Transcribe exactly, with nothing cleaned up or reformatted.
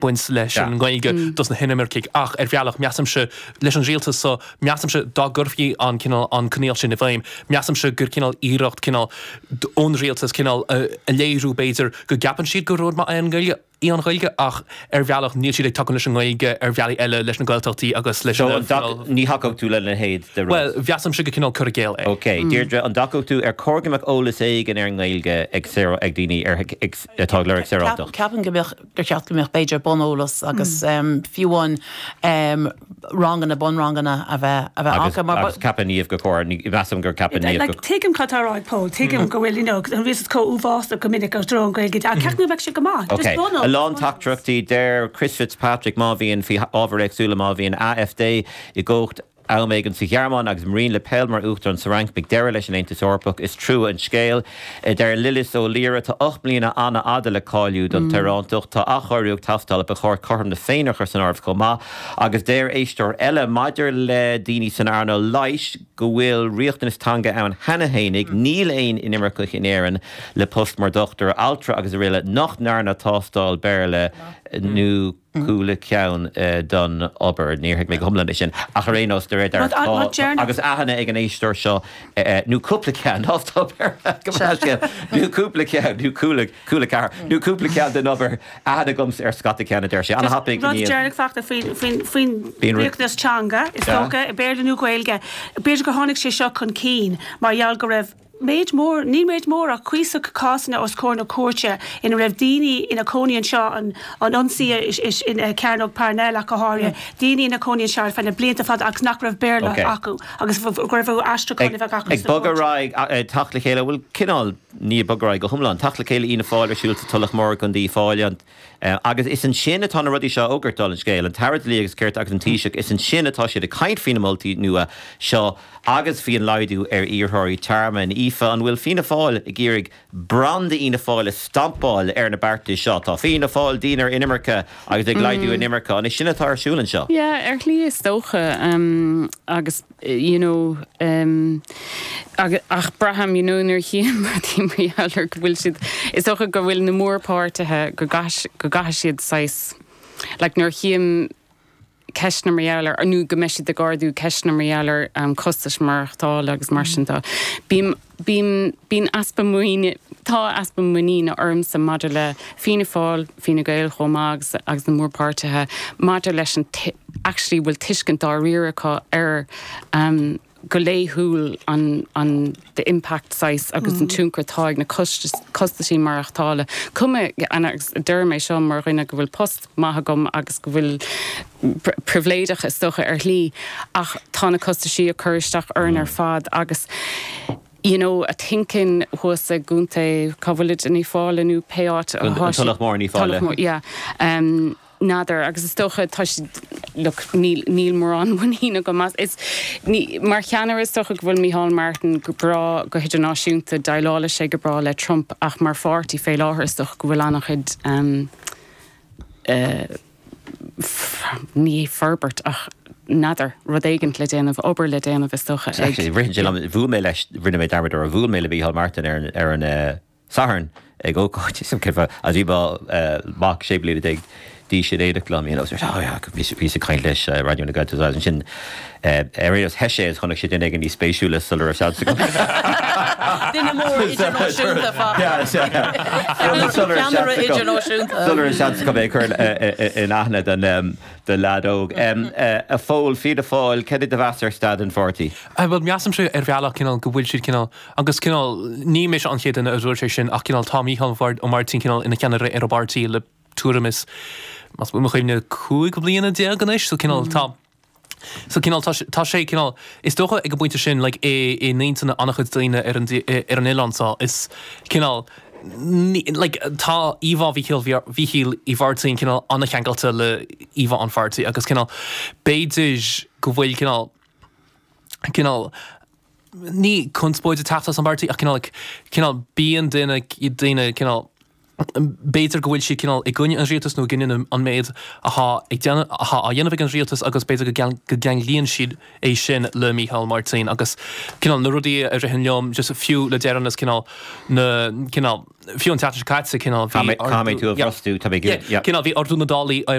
Baint leis an nGaeilge dos na hinimircigh ach ar bhealach measaimse leis an rialtas so measaimse dá gcuirfí an cineál an coinníoll sin i bhfeidhm measaimse gur cineál iarracht cineál ón rialtas cineál a léiriú b'fhéidir go gceapann siad gur rud maith é an Ghaeilge í an Ghaeilge ach ar bhealach níl siad ag tacú leis an nGaeilge ar bhealaí eile leis na Gaeltachtaí agus leis So an ní thacódh tú lena leithéid de rud? Bhuel mheasaimse gur cineál cur i gcéill é. Ok, Deirdre, an dtacódh tú ar chóir go mbeadh eolas éigin ar an nGaeilge ag ag daoine ar atá ag lorg saorántacht? Ceapaim go mbeadh gur cheart go mbeadh b'fhéidir buneolas agus fiú amháin ranganna bunranganna a bheith a bheith acu mar Agus ceapann Niamh gur chóir, measaim gur ceapann Niamh go. Tuigim cad tá á rá ag Pól, tuigim go bhfuil you know an rialtas chomh uafásach go minic i dtreo an Ghaeilge ach ceapaim go mbeadh sé go maith, just Ok, buneolas. a lán teachtaireachtaí, deir Chris Fitzpatrick má bhíonn faoi ábhair éagsúla má bhíonn AfD i gcumhacht am éigin sa Ghearmáin agus Marine Le Pen mar uachtarán sa Fhrainc beidh deireadh leis an Aontas Eorpach. Is trua an scéal. Deir Lillis Ó Laoire tá ocht mbliana an-fhada le cáiliú don tsaorántacht. Tá athchóiriú ag teastáil ach ba chóir cothrom na Féinne a chur san áireamh chomh maith. Agus deir éisteoir eile maidir le daoine san earnáil leighis go bhfuil riachtanas teanga ann cheana fhéinig, níl aon inimirceach in Éirinn le post mar dhochtúir, altra agus araile nach ndearna tástáil Béarla nó cúpla ceann don obair. Níor thuig mé go hiomlán é sin, ach ar aon nós, de réir dealraimh, tá, agus aithne ag an éisteoir seo, nó cúpla ceann, tástáil Béarla, go maith scéal, nó cúpla ceann, nó cúla, cúla ceathair, nó cúpla ceann den obair, aithne agamsa ar scata ceann, a deir sé. An-thapaidh, Rud deireanach fachta faoin, faoin, faoin riachtanas teanga, is dócha, Béarla nó Gaeilge. B'fhéidir gur tháinig sé seo chun cinn mar gheall go raibh méid mór, ní méid mór ach cuíosach cásanna os comhair na cúirte ina raibh daoine ina cónaí anseo, an an ionsaí in Cearnóg Parnell ach go háirithe, daoine ina cónaí anseo ar feadh na blianta fada agus nach raibh Béarla acu agus go raibh aistriúchán a bheith acu Ag sa bogadh chúirt. ar aghaidh, teacht le chéile, bhuel cineál, ní ag bogadh ar aghaidh go hiomlán, teacht le chéile Fhianna Fáil ar siúl sa Tulach Mhór i gContae Uíbh Fhailí, an Agus is ansin atá na rudaí seo á fhógairt, dála an scéil, an tAire Dlí agus Cirt agus an Taoiseach, is ansin atá siad ag caint faoi na moltaí nua seo agus faoi an laghdú ar iarrthóirí tearmainn. Aoife, an bhfuil Fianna Fáil ag iarraidh branda Fhianna Fáil a stampáil ar na beartais seo? Tá Fianna Fáil dian ar inimirce agus ag laghdú inimirce. An é sin atá ar siúl anseo? Yeah, ar shlí is dócha. Agus you know ach braithim you know nuair a chím rudaí mar gheall ar go bhfuil siad, is dócha go bhfuil na mórpháirtithe go go gcaithfidh siad saghas like nuair a chím ceisteanna mar gheall ar nó go mbeidh siad ag ardú ceisteanna mar gheall ar um, costais maireachtála agus mar sin de. Bím bím bíonn easpa muiníne tá easpa muiníne ormsa maidir le Fianna Fáil, Fine Gael chomh maith agus agus na mórpháirtithe maidir leis an actually bhfuil tuiscint dáiríre acu ar um, go laethúil an an the impact saghas agus an tionchar atá ag na costaisí maireachtála. Cuma agus deir mé seo mar dhuine go bhfuil post maith agam agus go bhfuil pribhléideach is dócha ar shlí ach tá na costaisí ag cur isteach orainn ar fad agus you know, a thinking thuas i gContae cá bhfuil in Uíbh Fhailí nó pé áit An Tulach Mhór in Uíbh Fhailí. Yeah. Um, N'fheadar agus is dócha tá look, níl níl mórán muiníne agam as is ní mar cheannaire is dócha go bhfuil Micheál Martin go breá go hidirnáisiúnta déileálann sé go breá le Trump ach mar pháirtí fé láthair is dócha go bhfuil an-chuid um, uh, ní forbairt ach n'fheadar rud éigin le déanamh obair le déanamh is dócha ag. Ritheann sé liom bhuail mé leis rinne mé dearmad ar bhuail mé le Micheál Martin ar an ar an uh, Satharn ag ócáid as bhí mac sé bliana déag d'aois in éineacht liom you know, oh yeah, bhí bhí ag caint leis uh, Raidió na Gaeltachta ansin uh, ar aon theith sé is chonaic sé duine éigin níos spéisiúla sula raibh seans agam. Duine mór idirnáisiúnta fa. Ceannaire idirnáisiúnta. Sula raibh seans agam é chur in aithne den um, de leaid óg. Um, uh, a Phóil Fianna Fáil cad é do mheas ar staid an pháirtí. Well measaimse ar bhealach cineál go bhfuil siad cineál agus cineál ní mise an chéad duine a dúirt sé sin ach cineál tá Micheál Ó Máirtín cineál ina cheannaire ar an bpáirtí le tuairim is más buan mo chuimhne cúig bliana déag anois so cineál tá So cineál tá tá sé cineál is dócha ag an bpointe sin like, i i n-intinn an-chuid daoine ar an ar an oileán seo is cineál ní, like, tá íomhá Mhíchíl Mhíchíl Uí Mháirtín cineál an-cheangailte le íomhá an pháirtí agus cineál b'fhéidir go bhfuil cineál cineál ní conspóid ag teacht as an bpáirtí ach cineál like, cineál bíonn duine daoine cineál b'fhéidir go bhfuil siad cineál i gcoinne an rialtas nó i gcoinne an méid atá ag déanamh atá á dhéanamh ag an rialtas agus b'fhéidir go go gceanglaíonn siad é sin le Micheál Martin agus cineál na rudaí a ritheann liom just fiú le deireanas cineál na cineál fiú an tseachtain seo caite cineál bhí Caithfidh tú a bhrostú tá mé cineál bhí ardú na dtáillí